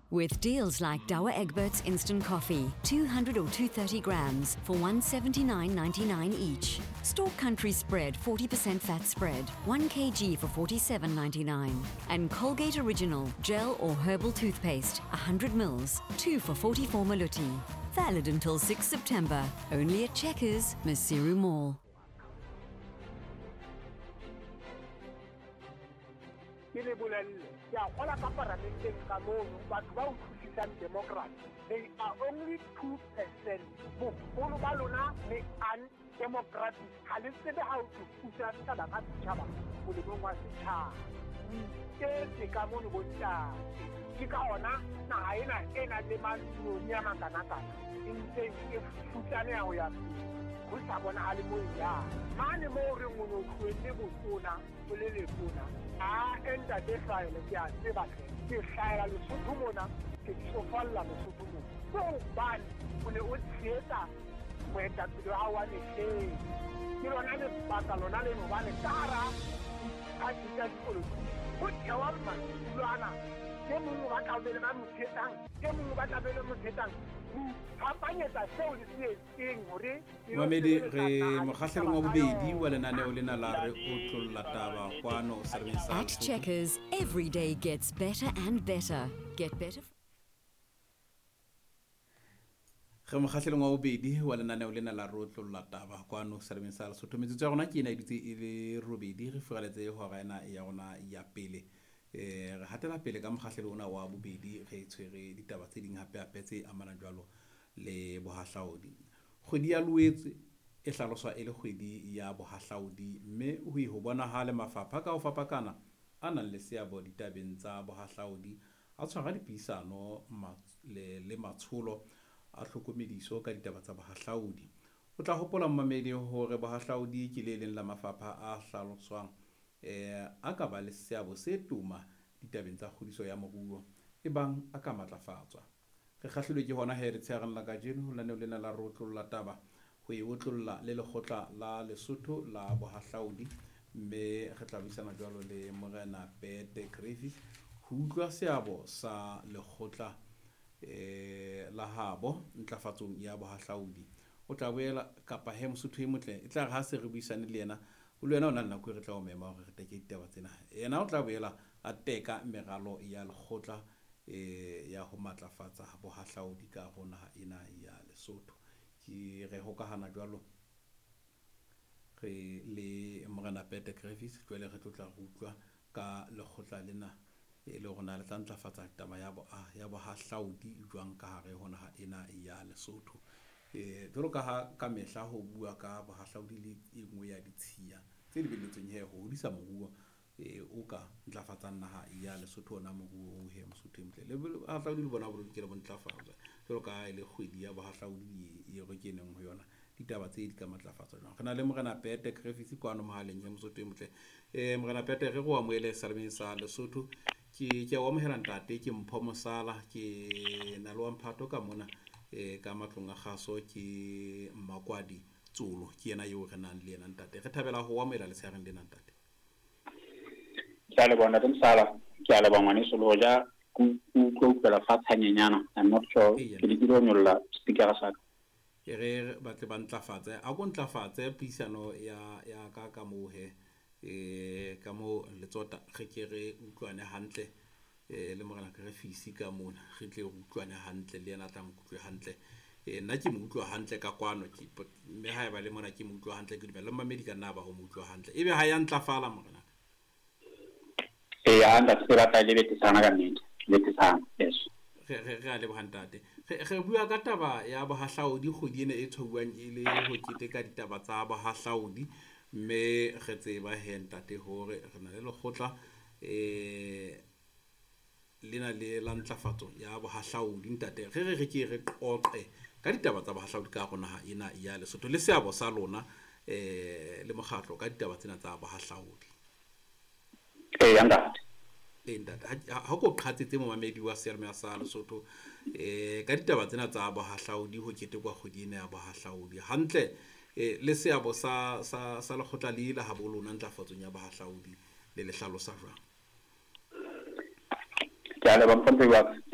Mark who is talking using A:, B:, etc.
A: With deals like Douwe Egberts Instant Coffee, 200 or 230 grams for 179.99 each. Stork Country Spread 40% fat spread, 1 kg for 47.99. And Colgate Original Gel or Herbal Toothpaste, 100 mils, 2 for 44 maluti. Valid until 6 September. Only at Checkers, Maseru Mall.
B: Ke le bolelle, ke a kgola ka paramenteng ka mono batho ba utlwisisang democracy, they are only 2%. Boholo ba lona le undemocratic, ha le tsebe ha o thusa setjhaba ka setjhaba molemong wa setjhaba. O iketse ka mono bontate, ke ka ona naha ena e nang le mantsinyoni a makanakana e ntseng e futsaneha ho ya pele, ho sa bonahale mo e yang. Mane moo re o no tlohelle botona o le letona, a ntate hlahele, ke a tseba hle, ke hlahela Lesotho mona, ke tsofalla Lesotho mona. Ke hobane o ne o tshehetsa moetapele wa hao wa mehleng. Ke lona lebaka lona leno hobane ka hara diphathi tsa dipolotiki ho thewa madulo ana, e mong o batla ho be le ba mo tshehetsang, e mong o batla be le mo tshehetsang. Fapanyetsa seo le se etseng hore
C: Mamedi, re mokgahlelong wa bobedi wa lenaneo lena la Re Otlolla Taba kwano seremeng sa
A: At
C: Lesotho.
A: Checkers, every day gets better and better. Get better.
C: Re mokgahlelong wa bobedi wa lenaneo lena la Re Otlolla Taba kwano seremeng sa Lesotho. Metsotso ya rona ke ena e dutse e le robedi, re furaletse hora ena ya rona ya pele. Re hatela pele ka mokgahlelo ona wa bobedi, re tshwere ditaba tse ding hape hape tse amanang jwalo le bohahlaodi. Kgwedi ya Loetse e hlaloswa e le kgwedi ya bohahlaodi, mme ho ho bonahale mafapha ka ho fapakana a nang le seabo ditabeng tsa bohahlaodi a tshwara dipuisano le matsholo a tlhokomediso ka ditaba tsa bohahlaodi. O tla hopola mmamedi hore bohahlaodi ke le leng la mafapha a hlaloswang a ka ba le seabo se toma ditabeng tsa kgodiso ya moruo e bang a ka matlafatswa. Re kgahlilwe ke hona he letshehareng la kajeno ho lenaneo lena la Re Otlolla Taba ho e otlolla le lekgotla la Lesotho la bohahlaodi, mme re tla buisana jwalo le Morena Pete Griffiths ho utlwa seabo sa lekgotla la habo ntlafatsong ya bohahlaodi. O tla boela kapa he Mosotho e motle e tla re ha se re buisane le yena, o le wena o na le nako e re tla o mema hore re teke ditaba tsena. Yena o tla boela a teka meralo ya lekgotla ya ho matlafatsa bohahlaodi ka ho naha ena ya Lesotho. Ke re hokahana jwalo re le Morena Pete Griffiths, jwale re tlotla re utlwa ka lekgotla lena e le hore na le tla ntlafatsa taba ya bohahlaodi jwang ka hare ho naha ena ya Lesotho. Jwalo ka ha ka mehla ho bua ka bohahlaodi le e nngwe ya ditshiya tse lebelletsweng he ho hodisa moruo o ka ntlafatsang naha ya Lesotho, ona moruo o he Mosotho e motle. Le bohahlaodi le bona bo lokela bo ntlafatswa jwalo ka ha e le kgwedi ya bohahlaodi e re keneng ho yona, ditaba tse di ka matlafatswa jwang. Re na le Morena Pete Griffiths kwano mohaleng ya Mosotho e motle. Morena Pete, re go amohele salemeng sa Lesotho. Ke a o amohela ntate, ke Mpho Mosala, ke na le wa mphato ka mona ka matlong a kgaso, ke Mmakwadi Tsolo, ke yena eo re nang le yena ntate. Re thabela ho amohela letshehareng lena ntate.
D: Ke a leboha ntate Mosala, ke a leboha ngwaneso le hoja ke utlwa utlwela fatshe hanyenyana. I'm not sure, ke lekile ho nyolla speaker sa ka.
C: E re batle ba ntlafatse, a ko ntlafatse puisano ya ka ka moo he, ka moo letsota re ke re utlwane hantle le Morena Griffiths ka mona, re tle re utlwane hantle le yena a tla nkutlwe hantle. Nna ke mo utlwa hantle ka kwano, mme haeba le mona ke mo utlwa hantle, ke dumela le mmamedi ka nna ba o mo utlwa hantle. Ebe ha ya ntlafala Morena?
D: Eya, ntate, se batla le betesana ka nnete, betesana, yes.
C: Re a leboha ntate. Re bua ka taba ya bohahlaodi kgwedi ena e tshwauwang e le ho keteka ditaba tsa bohahlaodi, mme re tseba he ntate hore re na le lekgotla lena le la ntlafatso ya bohahlaodi ntate. Re re ke re qoqe ka ditaba tsa bohahlaodi ka hare ho naha ena ya Lesotho le seabo sa lona le mokgatlo ka ditaba tsena tsa bohahlaodi.
D: Eya ntate.
C: Ee ntate, ha ko qhatsetse momamedi wa seyalemoya sa Lesotho ka ditaba tsena tsa bohahlaodi ho ketekwa kgwedi ena ya bohahlaodi hantle, le seabo sa lekgotla le la habo lona ntlafatsong ya bohahlaodi le le hlalosa jwang?
D: Ke a leboha, Mpho Mpho.